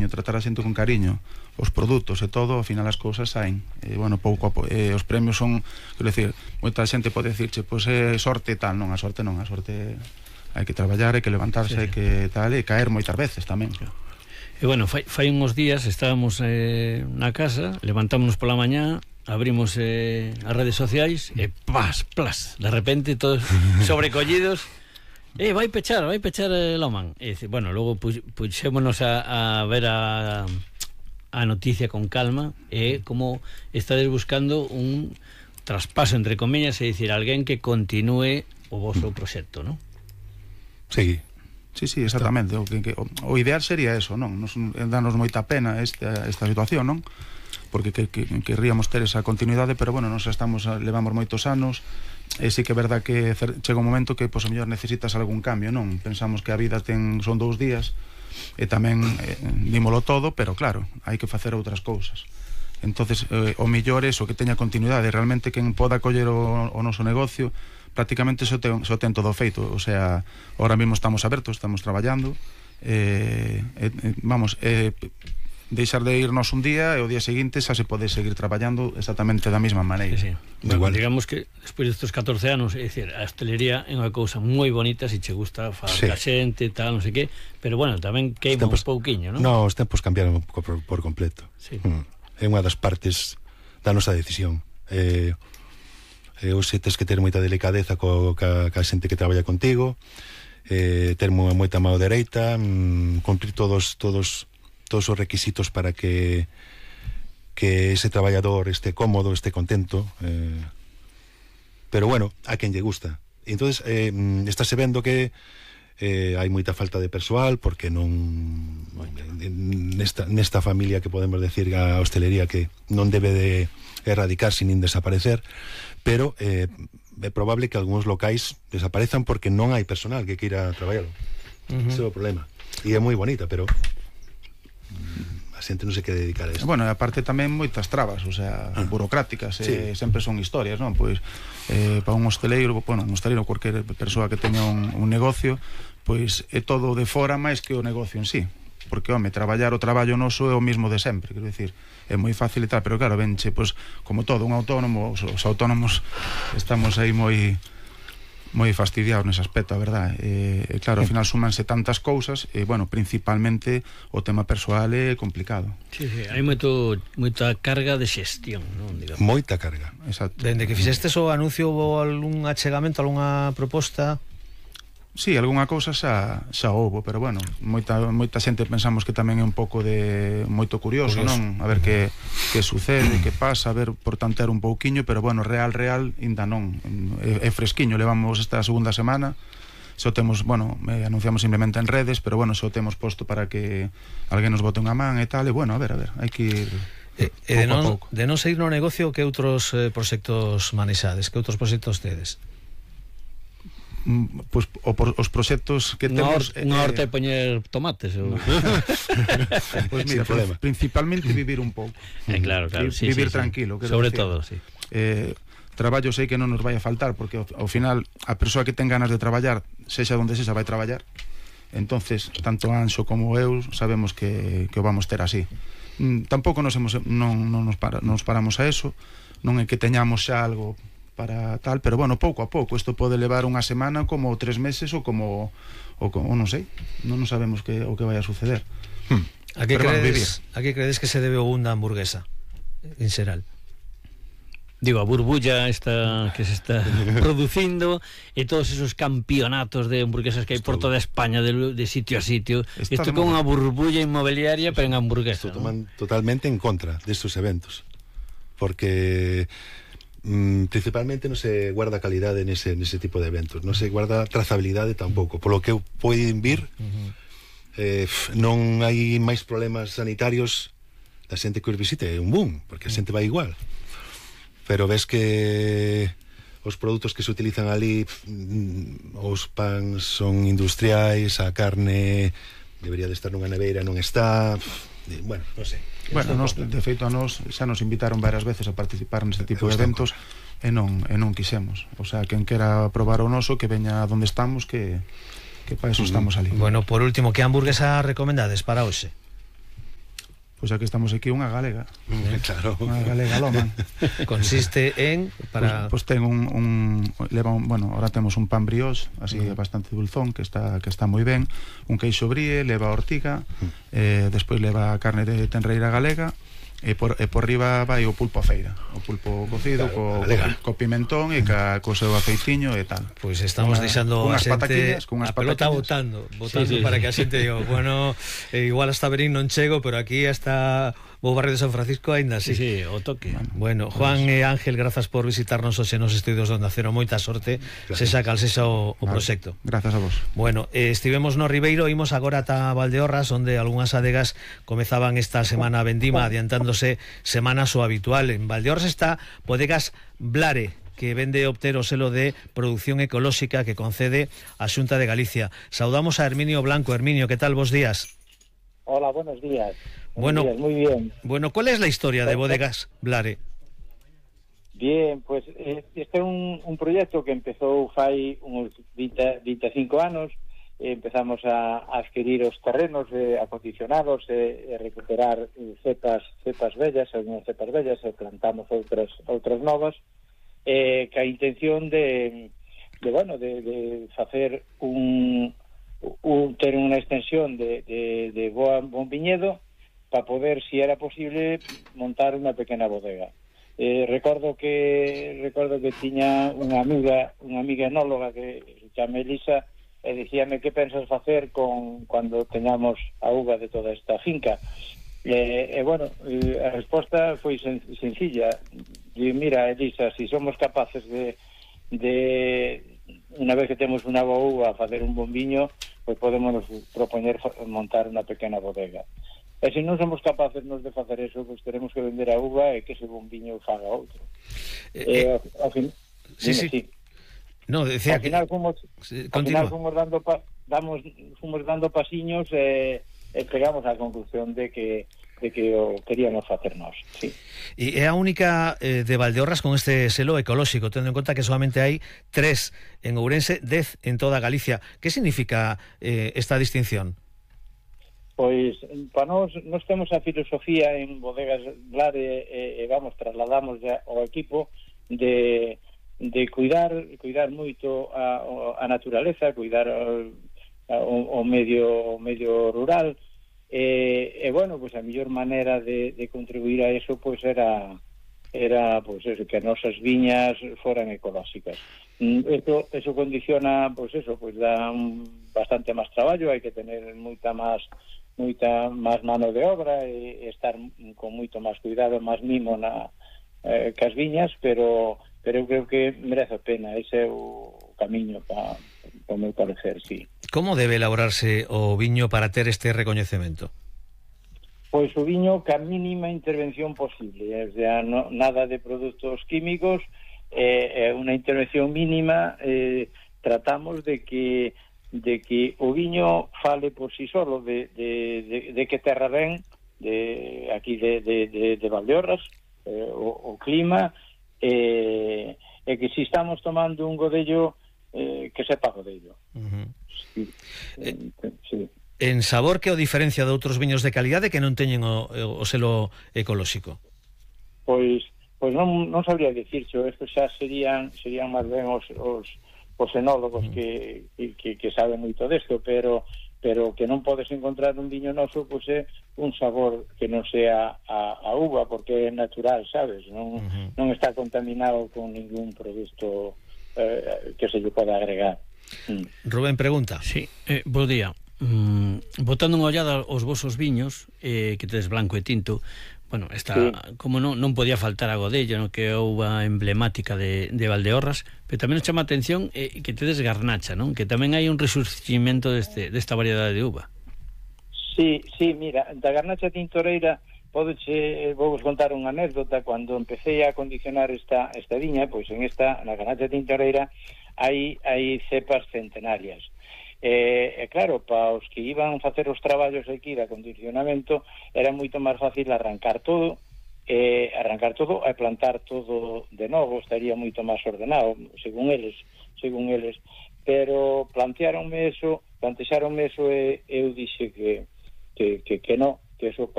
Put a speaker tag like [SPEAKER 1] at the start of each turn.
[SPEAKER 1] cariño, tratar a xente con cariño, os produtos e todo, ao final as cousas saen. Bueno, pouco a pouco, os premios son, quero dicir, moita xente pode dicirche, pois é sorte e tal, non, a sorte hai que traballar, hai que levantarse, hai que tal, e caer moitas veces tamén.
[SPEAKER 2] E bueno, fai uns días estábamos na casa, levantámonos pola mañá, abrimos as redes sociais e plas, de repente todos sobrecollidos, vai pechar Loman. E bueno, logo puxémonos a ver a noticia con calma, e como estades buscando un traspaso, entre comillas, é dicir, alguén que continúe o vosso proxecto, non?
[SPEAKER 3] Sí,
[SPEAKER 1] exactamente. O ideal sería eso, non? Danos moita pena esta situación, non? Porque querríamos ter esa continuidade, pero bueno, levamos moitos anos, e sí que é verdad que chega un momento que, pois, a mellor necesitas algún cambio, non? Pensamos que a vida son 2 días, e tamén dímolo todo, pero claro, hai que facer outras cousas. Entonces, o mellor é o que teña continuidade, realmente quen poda coller o noso negocio, prácticamente só ten todo feito. O sea, ahora mesmo estamos abertos, estamos traballando, deixar de irnos un día e o día seguinte xa se pode seguir traballando exactamente da mesma maneira.
[SPEAKER 2] Sí. Bueno, digamos que despois destes 14 anos, é dicir, a hostelería é unha cousa moi bonita, se che gusta falar a xente, tal, non sei que, pero bueno, tamén queima un pouquiño, non?
[SPEAKER 3] No, os tempos cambiaron por completo.
[SPEAKER 2] Sí.
[SPEAKER 3] É unha das partes da nosa decisión. Hoxe tes que ter moita delicadeza ca xente que traballa contigo, ter moita mão dereita, cumprir todos os requisitos para que ese traballador este cómodo, este contento, pero bueno, a quen lle gusta. Entonces estáse vendo que hai moita falta de persoal, porque non nesta familia que podemos decir a hostelería que non debe de erradicarse nin desaparecer, pero é probable que algúns locais desaparezan porque non hai personal que queira traballar. Ese é o problema. E é moi bonita, pero a xente non se quere dedicar a isto.
[SPEAKER 1] Bueno, e aparte tamén moitas trabas, o sea, burocráticas, sempre son historias, non? Pois para un hosteleiro, cualquier persoa que teña un negocio, pois é todo de fora máis que o negocio en sí, porque, home, traballar o traballo noso é o mismo de sempre, quero dicir, é moi fácil e tal, pero claro, venche, pois, como todo, un autónomo, os autónomos estamos aí moi fastidiados nese aspecto, a verdade. Claro, ao final súmanse tantas cousas, e, bueno, principalmente o tema persoal é complicado.
[SPEAKER 2] Sí, hai moita carga de xestión, non? Digamos.
[SPEAKER 3] Moita carga.
[SPEAKER 1] Exacto.
[SPEAKER 4] Dende que fixestes o anuncio, houve algún achegamento, algunha proposta?
[SPEAKER 1] Sí, algunha cousa xa houbo, pero bueno, moita xente pensamos que tamén é un pouco de moito curioso, non? A ver que sucede, que pasa, a ver, por tantear un pouquiño, pero bueno, real, ainda non. É fresquiño, levamos esta segunda semana, só temos, bueno, anunciamos simplemente en redes, pero bueno, só temos posto para que alguén nos bote unha man e tal, e bueno, a ver, hai que ir pouco a pouco.
[SPEAKER 4] De non seguir no negocio, que outros proxectos manexades, que outros proxectos tedes?
[SPEAKER 1] Pois os proxectos que temos
[SPEAKER 2] unha horta de poñer tomates
[SPEAKER 1] pois mira, principalmente vivir un pouco,
[SPEAKER 2] claro,
[SPEAKER 1] vivir tranquilo,
[SPEAKER 2] sobre todo, sí.
[SPEAKER 1] Traballo sei que non nos vai a faltar, porque ao final a persoa que ten ganas de traballar, sexa onde sexa, vai traballar. Entonces, tanto Anxo como eu sabemos que o vamos ter así. Tampouco nos paramos a eso, non é que teñamos xa algo para tal, pero bueno, pouco a pouco. Isto pode levar unha semana, como 3 meses, ou non sei, non sabemos o que vai a suceder.
[SPEAKER 4] A que credes que se debe o boom da hamburguesa en xeral?
[SPEAKER 2] Digo, a burbulla esta que se está producindo, e todos esos campeonatos de hamburguesas que hai por toda España, de sitio a sitio. Isto con unha burbulla inmobiliaria, pero en hamburguesa, ¿no?
[SPEAKER 3] Totalmente en contra destes eventos, porque principalmente non se guarda calidade nese tipo de eventos, non se guarda trazabilidade tampouco, polo que poden vir. Non hai máis problemas sanitarios da xente que os visite, é un boom, porque a xente vai igual, pero ves que os produtos que se utilizan ali, os pans son industriais, a carne debería de estar nunha neveira, non está, bueno, non sei.
[SPEAKER 1] Bueno, de feito a nos xa nos invitaron varias veces a participar neste tipo de eventos e non quixemos. O sea, quen quera probar o noso, que veña onde estamos, que para eso estamos ali.
[SPEAKER 4] Bueno, por último, que hamburguesa recomendades para hoxe?
[SPEAKER 1] Pois aquí estamos aquí unha galega.
[SPEAKER 3] Claro.
[SPEAKER 1] Unha galega loma.
[SPEAKER 4] Consiste en para
[SPEAKER 1] Pois ten bueno, ahora temos un pan brioche, así bastante dulzón, que está moi ben, un queixo brie, leva ortiga, despois leva carne de tenreira galega, e por riba vai o pulpo a feira, o pulpo cocido,
[SPEAKER 3] claro,
[SPEAKER 1] co pimentón e co seu aceitiño e tal.
[SPEAKER 4] Pois estamos deixando a xente
[SPEAKER 1] a
[SPEAKER 4] pelota botando sí, para que a xente diga, bueno, igual hasta Berín non chego, pero aquí hasta o barrio de San Francisco aínda así.
[SPEAKER 2] Sí, o toque.
[SPEAKER 4] Bueno, Juan e Ángel, grazas por visitarnos hoxe nos estudios de Onda Cero, moita sorte, sexa cal sexa o proxecto.
[SPEAKER 1] Grazas a vos.
[SPEAKER 4] Bueno, estivemos no Ribeiro, imos agora ata Valdeorras, onde algunhas adegas comezaban esta semana vendima, adiantándose semanas o habitual. En Valdeorras está Bodegas Blare, que vende obter o selo de producción ecolóxica que concede a Xunta de Galicia. Saudamos a Herminio Blanco. Herminio, que tal, vos días?
[SPEAKER 5] Hola, buenos días.
[SPEAKER 4] Bueno,
[SPEAKER 5] muy bien.
[SPEAKER 4] Bueno, ¿cuál es la historia de Bodegas Blare?
[SPEAKER 5] Bien, pues este é un proxecto que empezou fai uns 25 anos. Empezamos a adquirir os terrenos acondicionados e recuperar cepas vellas, algunhas cepas vellas, e plantamos outras novas, ca intención de facer ter unha extensión de bon viñedo para poder, si era posible, montar unha pequena bodega. Recordo que tiña unha amiga enóloga que se chama Elisa, e dicíame que pensas facer cando teñamos a uva de toda esta finca. A resposta foi sencilla. Mira, Elisa, si somos capaces de unha vez que temos unha boa uva facer un bon viño, pois podemos propoñer montar unha pequena bodega. E se non somos capaces de facer eso, pois teremos que vender a uva e que ese bon viño faga outro.
[SPEAKER 4] Sí. No, decía
[SPEAKER 5] ao final fomos dando pasiños e chegamos á conclusión de que o queríamos facer nós, sí.
[SPEAKER 4] E é a única de Valdeorras con este selo ecolóxico, tendo en conta que solamente hai 3 en Ourense, 10 en toda Galicia. Que significa esta distinción?
[SPEAKER 5] Pois, para nós temos a filosofía en Bodegas Blare trasladamos ao equipo de cuidar moito a naturaleza, cuidar o medio rural, pois a mellor maneira de contribuir a eso pois era pois eso, que as nosas viñas foran ecolóxicas. Eso condiciona, pois eso, pois dá bastante máis traballo, hai que tener moita máis mano de obra e estar con moito máis cuidado, máis mimo cas viñas, pero eu creo que merece a pena. Ese é o camiño para o meu parecer, sí.
[SPEAKER 4] Como debe elaborarse o viño para ter este recoñecemento?
[SPEAKER 5] Pois o viño ca mínima intervención posible, nada de produtos químicos, unha intervención mínima. Tratamos de que o viño fale por si solo de que terra ven, aquí de Valdeorras, o clima, e que si estamos tomando un godello, que sepa godello. Sí.
[SPEAKER 4] En sabor, que o diferencia de outros viños de calidade que non teñen o selo ecolóxico?
[SPEAKER 5] Pois non sabría dicircho. Estos xa serían máis ben os enólogos que saben moito desto, pero que non podes encontrar un viño noso, pois é un sabor que non sea a uva, porque é natural, sabes? Non está contaminado con ningún produto que se lle poda agregar.
[SPEAKER 4] Rubén pregunta.
[SPEAKER 2] Sí, bo día. Botando unha ollada aos vosos viños, que tedes blanco e tinto, bueno, está, sí. Como non podía faltar a Godello, no, que é a uva emblemática de Valdeorras, pero tamén nos chama a atención que tedes garnacha, non? Que tamén hai un resurgimento desta variedade de uva.
[SPEAKER 5] Sí, mira, da garnacha tintoreira vou contar unha anécdota. Cando empecé a condicionar esta viña, pois na garnacha tintoreira hai cepas centenarias. Claro, para os que iban facer os traballos aquí de acondicionamento era moito máis fácil arrancar todo e plantar todo de novo, estaría moito máis ordenado, según eles, pero plantexaronme eso e eu dixe que non, que eso